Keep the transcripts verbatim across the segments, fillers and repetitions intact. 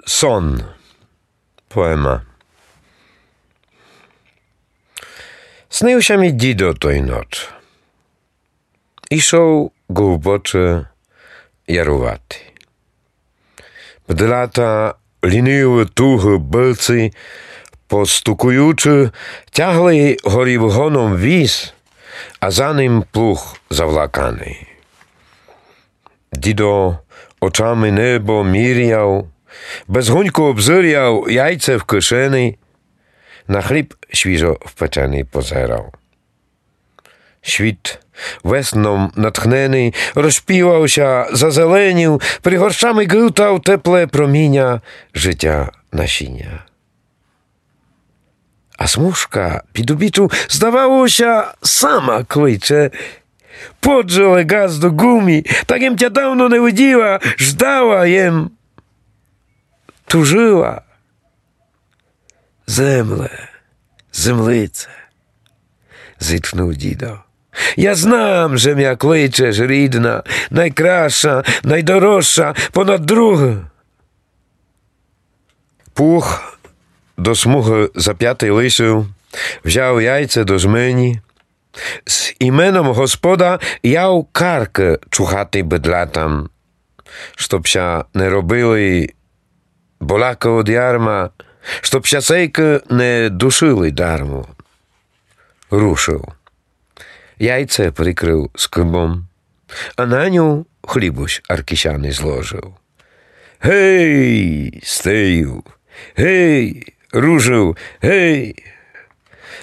Сон. Поема. Снив ся мі дїдо той ноч. Ішов ґовбоче ярувати. Бдлята лїнивы тугы быці, постукуючы, тягли горів гоном віз, а за ним плуг завлаканый. Дїдо очами небо міряв, без гуньку обзыряв, яйце в кишени, на хліб свіжо впеченый позерав. Світ весном натхненый розпівав ся, зазеленів, пригорщами гылтав тепле проміня житя насіня. А смужка під обічу, здавало ся, сама кличе: «Подже ле, ґазду, ґу мі, так єм тя давно не виділа, ждала єм, тужила». «Земле, землице», — зітхнув дїдо, — «я знам, же мя кличеш, рідна, найкрасша, найдорожша, понад другы». Плуг до смугы запятый лишив, взяв яйце до жмені, з іменом Господа яв каркы чухати быдлятам, чтоб ся не робили болякы од ярма, чтоб ся сейкы не душили дармо. Рушив. Яйце прикрыв скыбом, а на ню хлібусь аркісяный зложив. «Гей, стею! Гей, ружу! Гей!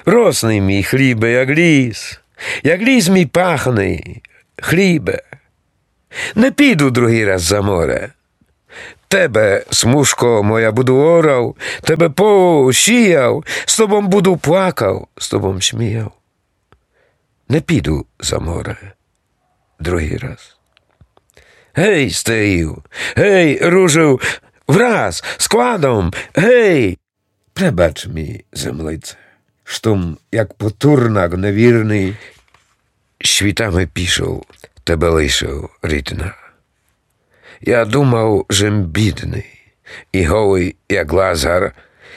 Росный мій хлібе, як ліс, як ліс мій пахный, хлібе! Не піду другый раз за море. Тебе, смужко моя, буду орав, тебе поло сіяв, з тобом буду плакав, з тобом сміяв. Не піду за море другый раз. Гей, стею! Гей, ружу! Враз, складом! Гей!» Пребач мі, землице, што м, як потурнак невірный, світами пішов, тебе лишив, рідна. Я думав, же м бідный і голый, як Лазар,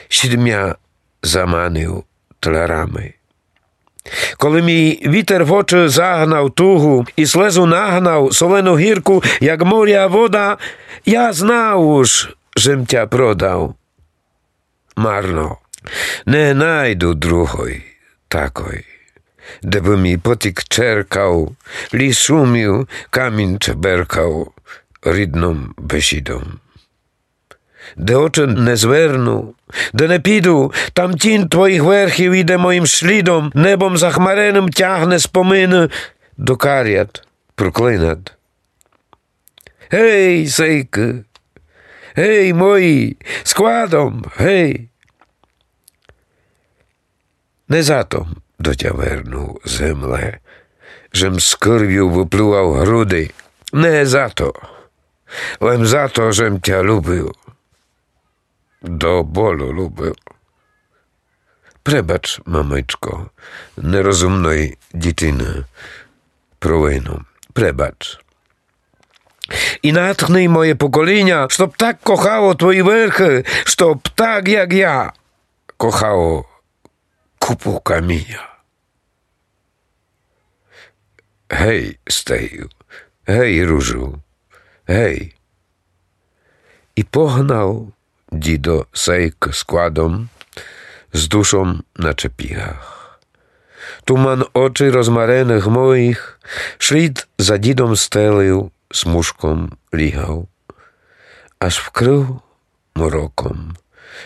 сідмя заманив тлярами. Коли мій вітер в очы загнав тугу і слезу нагнав солену гірку, як моря вода, я знав уж, же м тя продав. Марно. Не найду другой такой, де бы мій потік черкав, ліс шумів, камінь чеберкав рідным бесідом. Де очы не зверну, де не піду, там тінь твоїх верхів іде моїм слідом, небом захмареным тягне спомины до карят, проклинат. Гей, сейкы! Гей, мої, складом, гей! Не за то м до тя вернув, земле, же м з кырвю выплював груды. Не за то. Лем за то, же м тя любив. До болю любив. Пребач, мамичко, нерозумной дїтины провину. Пребач. І натхни моє поколіня, чтоб так кохало твої верхы, чтоб так, як я, кохало купу каміня. Гей, стею, гей, ружу, гей. І погнав дїдо сейк складом з душом на чепігах. Туман очи розмареных моїх слід за дїдом стелив, смужком лігав, аж вкрыв мороком,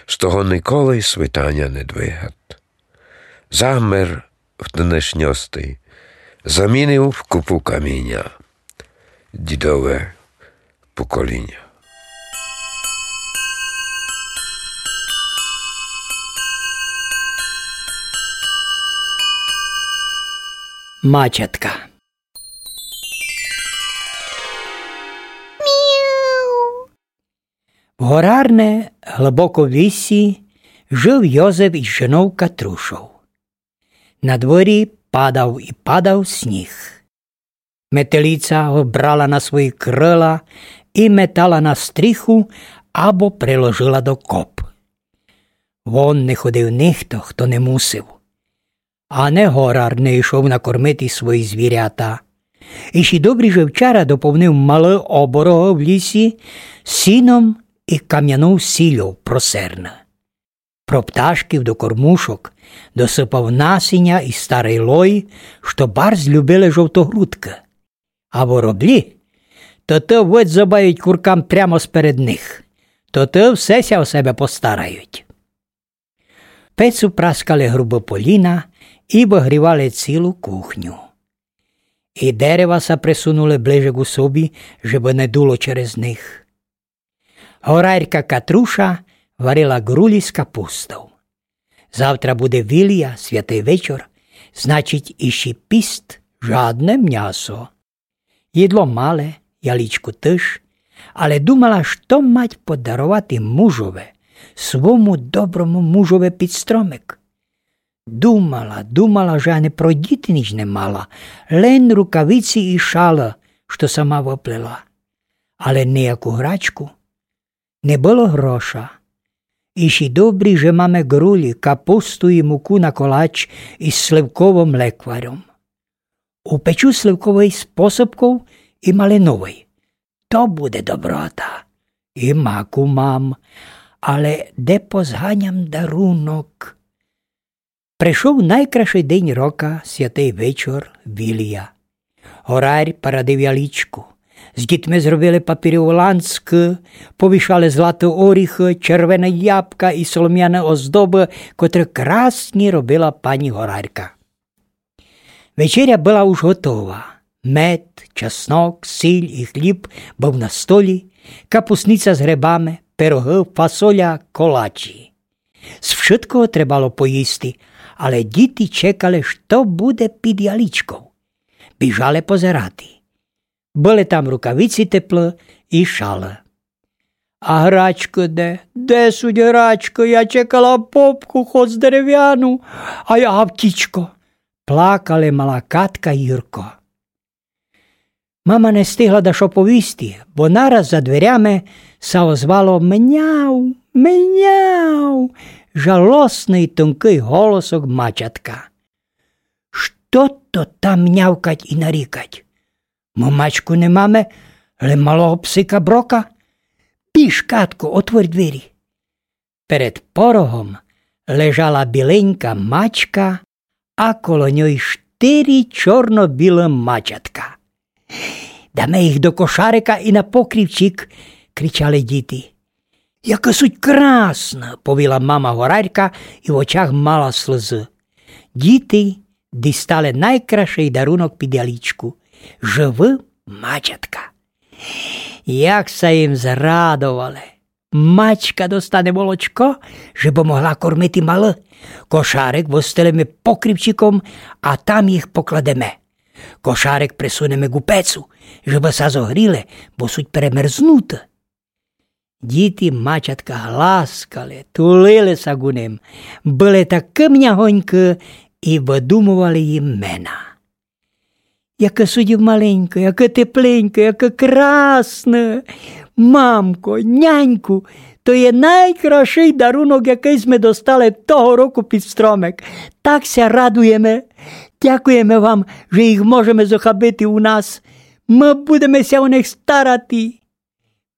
з того николи свитаня не двигат. Замер в днешньости, замінив в купу каміня дїдове поколіня. Мачатка. В горарне глыбоко лісі жыв Йозеф із жыном Катрушов. На дворі падав і падав сніг. Метелиця го брала на свої крыла і метала на стріху, або приложила до коп. Вон не ходив нихто, хто не мусив. А не горар не йшов накормити свої звірята. І ще добрі же вчора доповнив малы оборогы в лісі сіном і камянов сіллю про серна. Про пташків до кормушок досыпав насіня і старый лой, што барз любили жовтогрудкы. А вороблі, то то выдзобають куркам прямо сперед них, то то все ся о себе постарають. Пецу праскали грубы поліна і выгрівали цілу кухню. І дерева са присунули ближе ку собі, жебы не дуло через них. Горарка Катруша варила ґрулі з капустов. Завтра буде вілія, святый вечор, значить, іщи піст, жадне мнясо. Їдло мале, ялічку тыж, але думала, што мать подаровати мужове, свому доброму мужове під стромек. Думала, думала, же ани про діти ніч не мала, лен рукавиці і шала, што сама выплела. Але нияку грачку. Не было гроша. Іщи добрі, же маме ґрулі, капусту і муку на колач із сливковым лекваром. Упечу сливковый з посыпков і малиновый. То буде доброта. І маку мам. Але де позганям дарунок? Пришов найкрашый день рока, святый вечор, вілія. Горарь парадив ялічку. З дітми зробили папірьовы ланцкы, повішали златы оріхы, червены ябка і соломяны оздобы, котры красні робила пані горарка. Вечеря была уж готова. Мед, чеснок, сіль і хліб быв на столі, капусниця з грибами, пирогы, фасоля, колачі. З вшыткого требало поїсти, але діти чекали, што буде під ялічков. Біжали позирати. Были там рукавиці теплы і шала. А грачкы де? Де суть грачкы? Я чекала попку, хоц деревяну, а я гавтічко. Плакали мала Катка і Юрко. Мама не стигла дашто повісти, бо нараз за дверями ся озвало: «Мяу, мяу», жалосный тонкый голосок мачатка. Што то там нявкать і нарікать? Мы мачку не маме, лем малого псика Брока. Біж, Катко, отворь двері. Перед порогом лежала біленька мачка, а коло ньой штыри чорно-білы мачатка. «Даме їх до кошарика і на покрівчик», кричали діти. «Якы суть красны», повіла мама горарка і в очах мала слызы. Діти дістали найкрашый дарунок під ялічку. Живы мачатка. Як ся їм зрадовали! Мачка достане молочко, жебы могла кормити малы. Кошарик выстелиме покрівчиком, а там їх покладеме. Кошарик присунеме ку пецу, жебы ся зогріли, бо суть перемерзнуты. Діти мачатка гласкали, тулили ся ку ним, были такы мягонькы і выдумовали їм мена. «Якы суть маленькы, якы тепленькы, якы красны! Мамко, няньку, то є найкрашый дарунок, якый сьме достали того року під стромек. Так ся радуєме. Дякуєме вам, же їх можеме зохабити у нас. Мы будеме ся о них старати».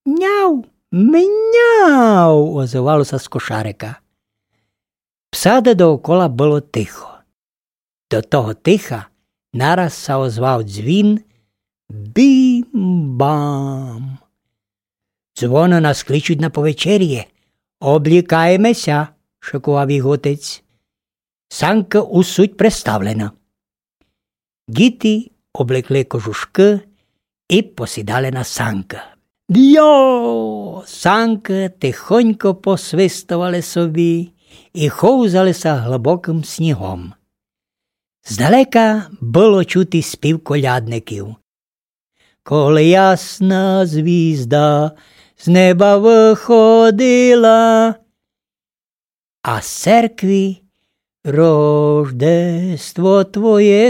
«Няу, мяу», озывало ся з кошарика. В саде доокола было тихо. До того тиха нараз ся озвав дзвін: «Бім-бам!» «Дзвоны нас кличуть на повечеріє. Облікаєме ся», шыкував їх отець. «Санкы уж суть приставлены». Діти облекли кожушкы і посідали на санкы. Дйо! Санкы тихонько посвистовали собі і ховзали ся глыбокым снігом. Здалека было чути спів колядників: «Коли ясна звізда з неба выходила», а з церкви: «Рождество Твоє